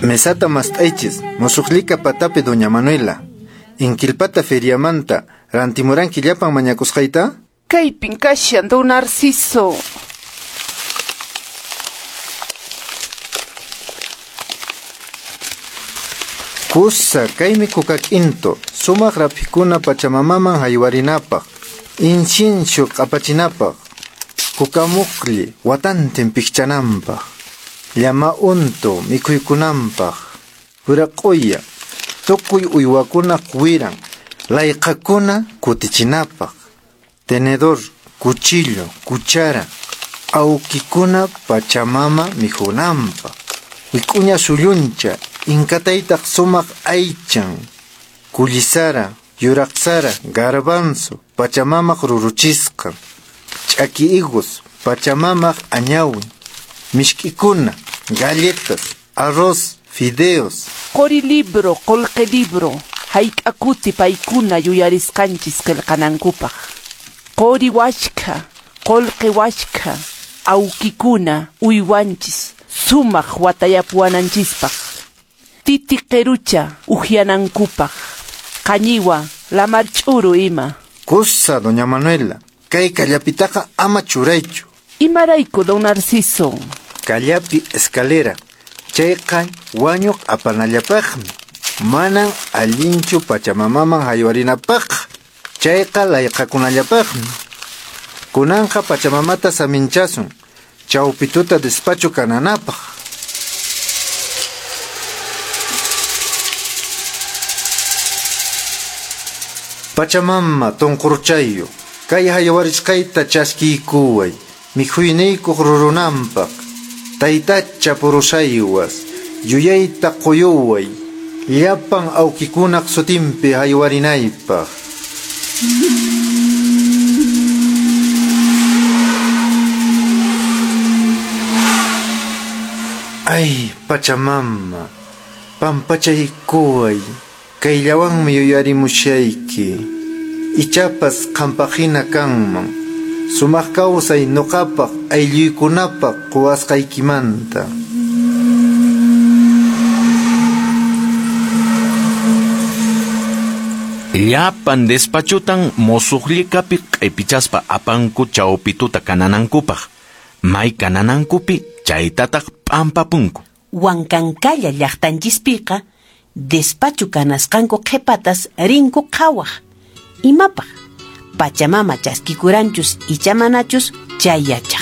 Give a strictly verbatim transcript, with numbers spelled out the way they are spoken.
Mesata mast'aychis, musuqlika patapi doña Manuela. Inkilpata feriamanta rantimuranki llapan mañakusqayta? Kaypin kashan, don Narciso. Kusa, kaymi kukak'into, sumaq raphikuna pachamamaman haywarinapaq, incienso q'apachinapaq, kukamuqli watantin pikchananpaq, llama untu mikhuykunanpaq, wiraq'uya, tukuy uywakunaq wiran, layqakuna kutichinapaq, tenedor, cuchillo, cuchara, awkikuna pachamama mikhunanpaq, wik'uña sulluncha, inkataytaq sumaq aychan, kullisara, yuraqsara, garbanzo, pachamamaq ruruchisqan, ch'aki higos, pachamamaq añawin, mishk'ikuna, galletas, arroz, fideos. Qori libro, qolqe libro, hayk'a kuti paykuna yuyarisqanchis qillqanankupaq. Qori washkha, qolqe washkha, awkikuna uywanchis, sumaq watayapuwananchispaq. Titi qirucha uhyanankupaq, qañiwa, lamar ch'uru ima. Kusa, doña Manuela, kay kallapitaqa ama churaychu. Imarayku, don Narciso? Kallapi escalera, chayqa wañuq apanallapaqmi. Manan allinchu pachamamaman haywarinapaq, chayqa layqakunallapaqmi. Kunanqa pachamamata saminchasun, chawpituta despacho kananapaq. Pachamama tonqurchayu, kay haywarisqayta chaskiykuway, mikhuyniykuq rurunanpaq, taytacha purusaywas, yuyayta quyuway, llapan awkikunaq sutinpi haywarinaypaq. Ay, Pachamama, pampachaykuway, kayllawanmi yuyarimushayki. Ichapas qampaqhina kanman, sumaq kawsay nuqapaq aylluykunapaq quwasqaykimanta. Llapan despachutan musuqllikapi q'ipichaspa apanku chawpituta kananankupaq. May kananankupi chaytataq p'ampapunku. Huancancalla llaqtanchispiqa despachu kanasqanku qhipatas rinku qhawaq. Imapaq? Pachamama chaskikuranchus icha manachus chay yachaq.